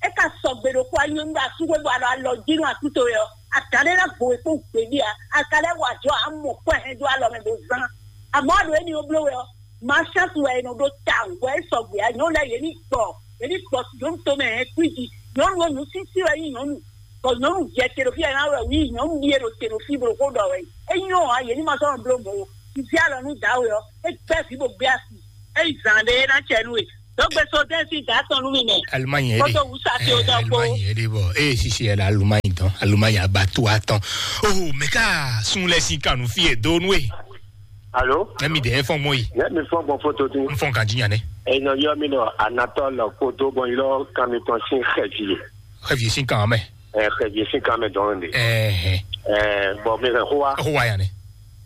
É ka sɔgbe ɖokpó anyɔ́nú ɖo asúxwé bɔ alɔ alɔ jí nú atúto wɛ ɔ́, adǎn ɖé ná gbo wě kpó gběɖé ǎ. A ka lɛ́ wa jɔ amɔ kɔ́ ɛ hɛn dó alɔ mɛ bó zán. Amɔ̌ ɖo éní ó bló wɛ ɔ́, Mǎ chance wɛ è nɔ ɖó tawun bɔ é sɔgbe ǎ. Nyɔ̌nu lɛ́ɛ yě ní gbɔ, yě ní gbɔ nyɔ̌nu tomɛ hɛn kwíji. Nyɔ̌nu ɔ́, nǔsísí wɛ nyí nyɔ̌nu, bɔ nyɔ̌nu jɛ te ɖo fí wɛ ná wɛ wí nyɔ̌nu ɖíe ɖo te ɖo fí bó ɖo xó ɖɔ wɛ. É nyɔ́ ǎ, yě ní ma sɔ́ nɔ bló mɔ̌ ó. Vǐ alɔ nú dǎwe ɔ́, é gbɛ́ vǐ bó gbé asi. É yi zǎn ɖé é ná cɛ nú we. Dɔ̌gbe Sodɛ́n sín dǎ tɔn nú mi mɛ. Alumanyi ɛ Kótó wǔ sa tí ó dán kpó. Alumanyi ɛ ɖe bɔ eye sisi ɛ la Alumanyi dɔn Alumanyi abatu atɔn. Oh, mɛ ká sun lɛ sin kanu fi ɛ do nú e. Alo? Ɛmi de efɔn mɔ yi. Ne mi fɔn gbɔn foto dín. N fɔn kan jinya ne. Enɔ yɔ mi nɔ anatɔ lɔ ko do bɔn yi lɔ kan mi tɔn sin xɛvi. Xɛvi sin kan mɛ. Ɛ xɛvi sin kan mɛ dɔn de. Ɛɛ. Ɛ bɔn mi hɛn xo wa. Xo wa ya ne.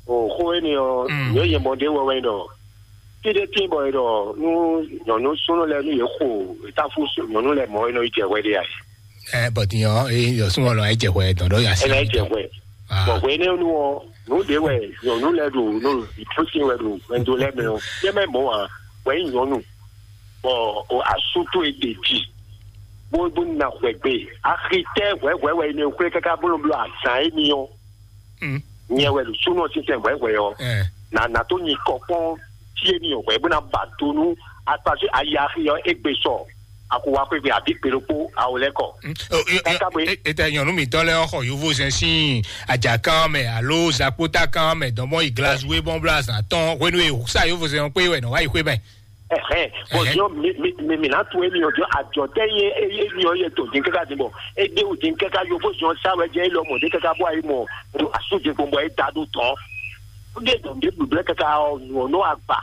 O xo eni ɔ. Mm. Yɔ yɛ mɔ de wɛ wɛ dɔ. Ti de tin bɔ yi dɔ nu nyɔnu sunu lɛ nu ye xo tafu nyɔnu lɛ mɔ enɔ yi jɛ wɛ de ya. Ɛ bɔn ti yɔ e yɔ sunu lɔ e jɛ wɛ dɔn dɔ ya si. Ena yi jɛ wɛ. Bɔn hwenɛ́nu ɔ́, nǔ ɖě wɛ nyɔ̌nu lɛ́ɛ ɖo nɔ ìtúsí wɛ ɖo hwɛndo lɛ́ɛ mɛ ɔ́, yɛ mɛ mɔ̌ ǎ, wɛ nyí nyɔ̌nu, bɔ asú towe ɖe jí, bó bó ná hwɛgbe. Axi tɛ́ hwɛ̌hwɛ̌ wɛ è nɔ xwlé káká bó nɔ bló azǎn émí ɔ́. Nyɛ wɛ ɖo súnɔ sínsɛn hwɛ̌hwɛ̌ ɔ́, nǎ ná tó nyi kɔ kpɔ́n fí émí ɔ́ hwɛ̌ bó ná ba do nú akpasú ayi axi ɔ́ égbé sɔ. Akuwaxwégbé abǐ gbe ɖokpó awo lɛ́ɛ kɔ. Ɛ ka bo é. Etɛ nyɔnu mǐtɔn lɛ́ɛ xɔ yovózɛn sín ajakán mɛ alo zakpótakán mɛ dɔn bɔn yi glazue bɔn bla zan tɔn hwenu e sa yovózɛn kpé wɛ nɔ wá yi xwé mɛ. Ɛhɛn, bɔn diɔ mi mi mi mi na to emi ɔ diɔ ajɔ tɛ ye ye mi ɔ ye to din kaka din bɔ e de o din kaka yovo diɔ sa wɛ jɛ e lɔ mɔ de kaka bɔ ayi mɔ asu din gbɔn bɔ e da do tɔn. Ó dé dɔn de blǔblɛ́ kaka ɔ nɔ agba.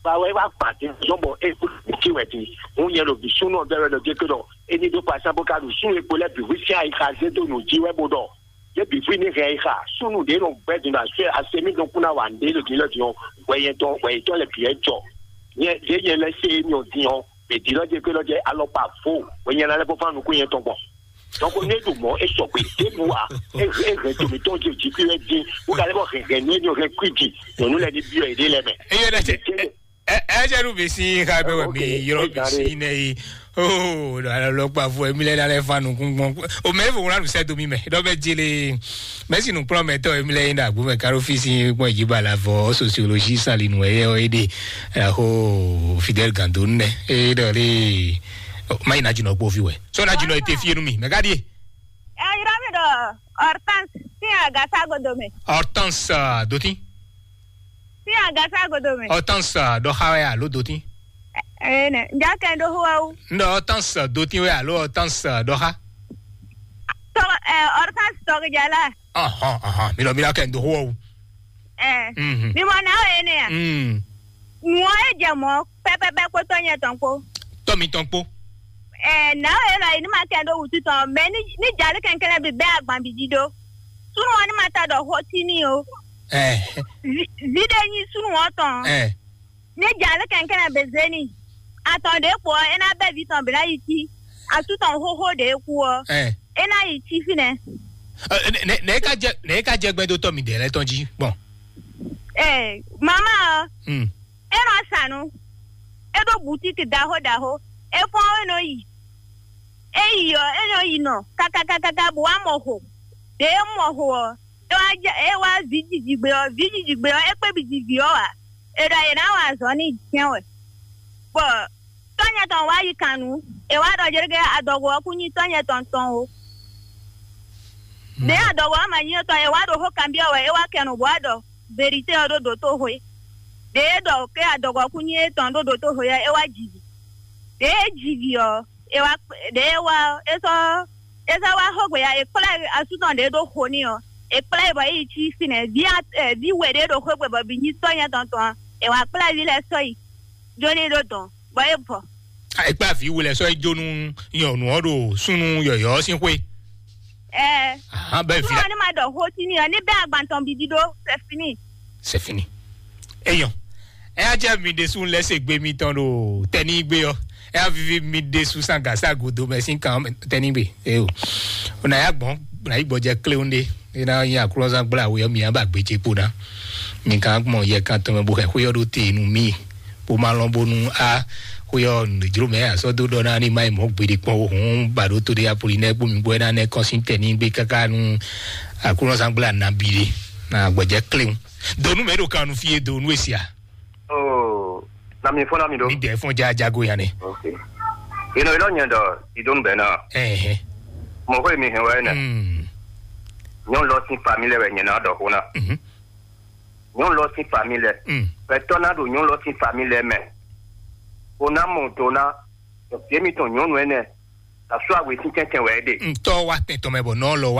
Ba wɛ wá gbà dín zɔn bɔ é kú kí wɛ dín. Ń nyɛ ɖo bǐ súnú ɔ́ bɛ́ wɛ ɖɔ jé ké ɖɔ é ní ɖó kpasán bó ka ɖo súnnu e kpo lɛ́ɛ bǐ hwí sín ayixa zé dó nǔ jí wɛ bó ɖɔ. Yé bǐ hwí ní hɛn ayixa súnnu ɖě nɔ gbɛ́ din ɖo asú asemí ɖokún ná wa nǔɖé ɖo din lɔ din ɔ́, hwɛ nyɛ tɔn hwɛ yětɔn lɛ bǐ wɛ jɔ. Nyɛ ɖě nyɛ lɛ́ sé émí ɔ́ din ɔ́, mǐ din lɔ jé ké lɔ jɛ alɔkpa vo hwɛ nyɛ ná lɛ́ fɔ́n fán nukún nyɛ tɔn gbɔn. Donc ne ɖo mɔ esɔgbe ɖěbǔ a ehɛn to mǐtɔn jí jí kí wɛ dín wó ka lɛ́ bɔ hɛn hɛn nú éní hɛn kwíji nyɔ̌nu lɛ́ɛ ní byɔ́ yěɖée lɛ́ɛ mɛ. Eye ɖe tse ɛ ɛ jɛ nu bi si xa bɛ wɛ mi yɔrɔ bi si ne yi. Oh, ɖo alɔ kpa fo emi lɛ na lɛ fa nukun gbɔn. O mɛ fo wla nu sɛ do mi mɛ ɖɔ bɛ jele. Mɛ si nukplɔ mɛ tɔ emi lɛ yi na agbo mɛ karo fi si gbɔn eji ba la vɔ sociologie sali nu eye o ede. Aho Fidel Gando nɛ e ɖɔ le. Ma yi na jinɔ kpo fi wɛ. So na jinɔ ete fi enu mi mɛ ka die. Ɛ yɔrɔ mi ɖɔ Hortense sin agasa godo mɛ. Hortense, ah, dotin. Sin agasa godo mɛ. Hortense, ah, ɖɔ xa wɛ alo dotin. Ɛ nɛ nja kɛ ɖo hó awu. N ɖɔ Hortense dotin wɛ alo Hortense, ah, ɖɔ xa. Tɔ ɛ Hortense tɔgɔjala. Ɔhɔn ɔhɔn mi lɔ mi la kɛ n do hó awu. Ɛ Mhm. Mi mɔ na o ene ya. Mm. Nua e jɛ mɔ pɛpɛpɛ kpótɔ nyɛ tɔn kpó. Tɔ mi tɔn kpó. Ɛ na o ena yi ni ma kɛ ɖo wutu tɔn mɛ ni ni jali kɛnkɛnɛ bi bɛ agban bi di do. Sunu wɔn ni ma ta dɔ xɔ ti ni o. Ɛ. Vi de nyi sunu wɔn tɔn. Ɛ. Ni jali kɛnkɛnɛ be zeni. Atɔn de kpɔ ena bɛ vi tɔn bi na yi ti. Asu tɔn xoxo de ku ɔ. Ɛ. Ena yi ti fi nɛ. Ɛ, ne ne ne ka jɛ ne ka jɛ gbɛdotɔ mi de lɛ tɔn ji. Bɔn. Ɛ mama ɔ. Hmm. E nɔ sa nu. E ɖo butiki ɖaxó ɖaxó. E fɔn e nɔ yi. E yi ɔ, e nɔ yi nɔ kakakakaka bo wá mɔ xo. Ɖe e mɔ xo ɔ, e wá jɛ e wá vǐ jijigbe ɔ, vǐ jijigbe ɔ, e kpé bi ji vǐ ɔ ǎ. E ɖɔ e ná wa azɔ̌ n'i jɛ́n wɛ. Bɔ tɔ́nyɛ tɔn wá yi kan nǔ, e wá ɖɔ jɛɖɛgɛ adɔgo ɔ kún nyí tɔ́nyɛ tɔn tɔn o. Ɖě adɔgo ɔ́ ma nyí étɔn, e wá ɖo xó kanbyɔ́ wɛ, é wá kɛ nǔ bó wá ɖɔ verité ɔ́ ɖó dǒtoxwe. Ɖě e ɖɔ ké adɔgo ɔ́ kún nyí étɔn ɖó dǒtoxwe ɔ́, é wá ji vǐ. Ɖě e ji vǐ ɔ́, é wá kpé- ɖě e wá ɔ́, é sɔ́ é sɔ́ wá xógbe ya, è kplá asú tɔn ɖě ɖó xo n'i ɔ́, è kplá ɛ bɔ é yi cí fínɛ́. Vǐ a- ɛ, vǐ we ɖě ɖo xógbe bɔ bǐ nyí tɔ́ nyɛ tɔn tɔn ɔ́, è wǎ kplá vǐ lɛ́ɛ sɔ́ yi. Jó ní ɖó dɔn, bɔ é bɔ. Ekpé avi wulɛ sɔ ejó nú nyɔnu ɔ ɖo súnú yɔyɔ sín xwé. Ɛ. Ahan bɛ vi. Fún wa ní ma ɖɔ xó sí ní ɔ ní bɛ agbantɔn bíbí ɖó. C'est fini. C'est fini. Eyɔn. Ɛ á jẹ́ mi ɖésú lɛ se gbé mi tɔn ɖo tɛní gbé ɔ. Ɛ á vivi mi ɖésú sangasa godo mɛ sín kan tɛní gbé. Eo. O na ya gbɔn, na yi gbɔjɛ kléwún ɖé. E na nyi aklɔzán gbla we ɔ mi á ba gbé ce kpo ná. Mi kan gbɔn yɛ kan tɔn mɛ bo xɛ xwé ɔ ɖó te nu mi. Bó má lɔn bónú á xwé ɔ́ nǔjló mɛ asɔ́ dó ɖɔ ná ní má yi mɔ̌ gbeɖé kpɔ́n ó hǔn ba ɖó tó ɖé Apolinɛ́ɛ kpó mi gbɔ é ná nɛ́ kɔn sín tɛn ní gbé káká nú Aklúnɔzángbla nabí ɖé ná gbɔjɛ́ kléwún. Donu mɛ ɖo kan nu fí e donu e sia. Oh, na mi fɔ́n na mi ɖó. Mi dɛ fɔn ja jago ya nɛ. Ok. Inɔ ilɔ nyɛ ɖɔ idonu bɛ na. Ɛhɛ. Mɔ xɔ mi hɛn wɛ nɛ. Mm. Nyɔnu lɔ sín famille wɛ nyɛ ná ɖɔ xó ná. Mhm. Nyɔnu lɔ sín famille lɛ. Mm. Gbɛtɔ́ ná ɖo nyɔnu lɔ sín famille lɛ mɛ. O ná mɔ do ná. Ɖɔ fie mi tɔn nyɔnu ɛnɛ. Asú awe sín tɛntɛn wɛ é ɖe. Ntɔ wa tɛntɔn mɛ bɔ nɔ lɔ wa.